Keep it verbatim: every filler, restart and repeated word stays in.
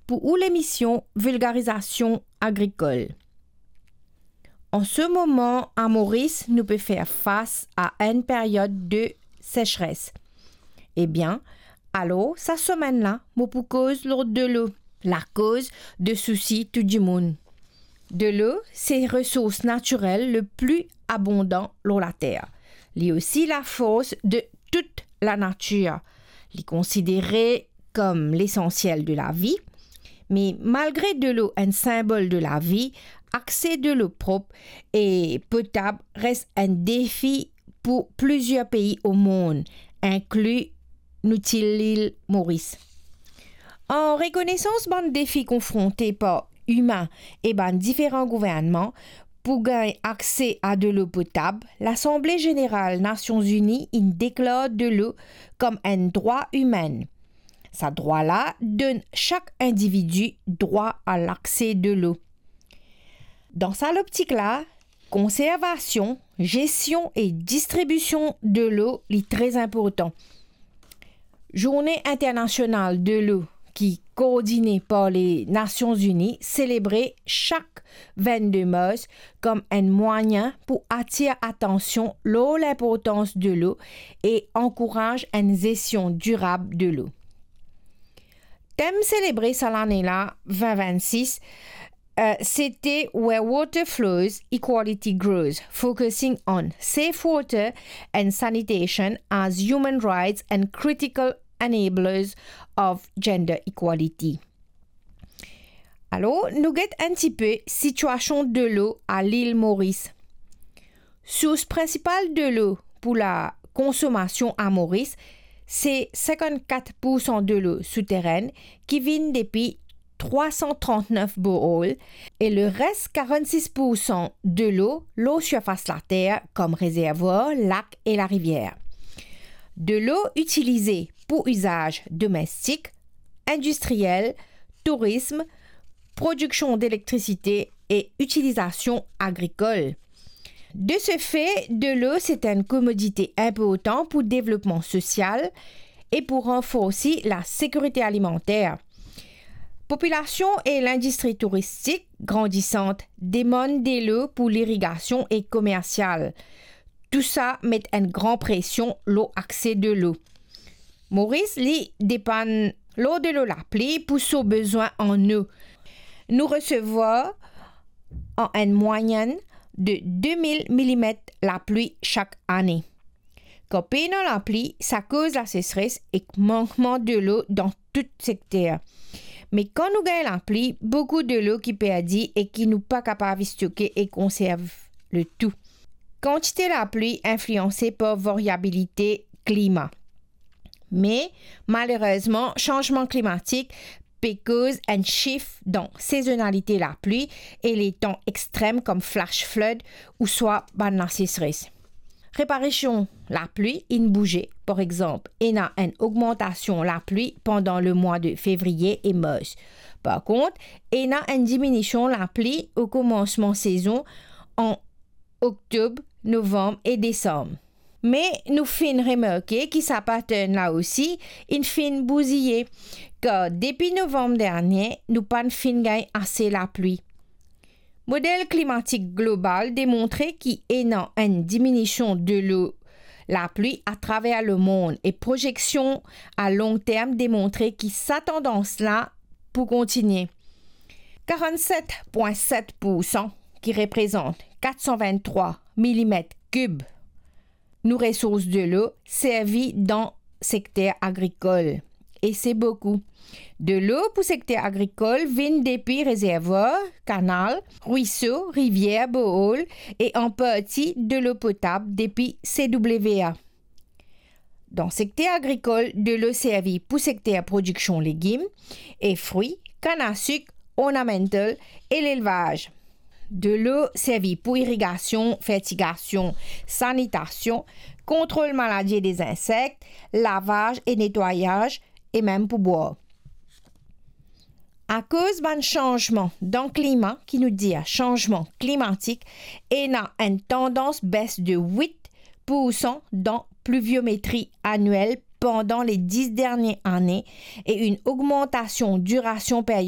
pou ou lemision Vilgarizasion Agrikol. An se moman, a Moris, nou pe fer fas a enn period de sesres. Ebien, alor, sa semenn la, mo pou koz lor delo, lakoz de sousi tou dimoun. Delo, se resours natirel le pli abondan lor later. Li osi lafors de tout lanatir. Li konsidere kom lesansiel de lavi, me malgre delo enn sinbol de lavi, akse delo prop e potab res enn defi pou plizier pei o mond, inkli nou ti lil Moris. An rekonesans bann defi konfronte par imin e bann diferan gouvernman pou gagn akse a delo potab, Lasanble Zeneral Nasion Zini inn deklar delo kom enn drwa imin. Sa drwa la donn sak individi drwa a lakse delo. Dan sa loptik la, konservasion, zesion e distribision delo li tre inportan. Zourne Internasional Delo, ki koordine par Lenasion Zini, selebre sak vennde mars kom enn mwayin pou atir atansion lor linportans delo e ankouraz enn zesion dirab delo. Tem selebre sa lane la, vin vennsis, eh, sete Where Water Flows, Equality Grows, focusing on safe water and sanitation as human rights and critical enablers of gender equality. Alor, nou get enn tipe sitiasion delo a lil Moris. Sours prinsipal delo pou lakonsomasion a Moris, se sinkannkat poursan delo souterenn ki vinn depi trwa san trant-nef borehole e leres, karannsis poursan delo lor sirfas later, kom rezervwar, lak e larivier. Delo itilize pou izaz domestik, indistriel, tourism, prodiksion delektrasite e itilizasion agrikol. De se fe, delo se enn komodite inportan pou devlopman sosial e pou ranforsi lasekirite alimanter. Popilasion e lindistri touristik grandisant demann delo pou lirigasion e komersial. Tousa met enn gran presion lor akse delo. Moris, li, depann lor delo lapli pou so bezwin an eau. Nou resevwar an enn mwayin de de mil milimet lapli sak ane. Kan pena lapli, sa koz lasesres ek mankman delo dan tou sekter. Me kan nou gagn lapli, boukou delo ki perdi e ki nou pa kapav stoke e konserv letou. Kantite lapli inflianse par variabilite klima. Me, malerezman, sanzman klimatik pe koz enn shift dan sezonalite lapli e letan extrem kom flash flood ouswa bann lasesres. Reparasion lapli inn bouze. Par exanp, ena enn ogmantasion lapli pandan lemwa de fevriye e mars. Par kont, ena enn diminision lapli o komansman sezon an oktob, novanm e desam. Me nou finn remarke ki sa pattern la osi inn finn bouziye, kar depi novanm dernie, nou pa'nn finn gagn ase lapli. Model klimatik global demontre ki ena enn diminision delo lapli atraver lemond e prozeksion a long term demontre ki sa tandans la pou kontinie. Karannset pwin set poursan, ki reprezant kat san vinn-trwa milimet kib, nou resours delo servi dan sekter agrikol, e se boukou. Delo pou sekter agrikol vinn depi rezervwar, kanal, rwiso, rivier, borehole e an parti delo potab depi C W A. Dan sekter agrikol, delo servi pou sekter prodiksion legim e frwi, kann a sik, ornamental e lelvaz. Delo servi pou irigasion, fertigasion, sanitasion, kontrol maladi e dezinsek, lavaz e netwayaz, e mem pou bwar. Akoz bann sanzman dan klima, ki nou dir sanzman klimatik, ena enn tandans bes de wit poursan dan pliviometri aniel pandan le dis dernie ane e enn ogmantasion dirasion period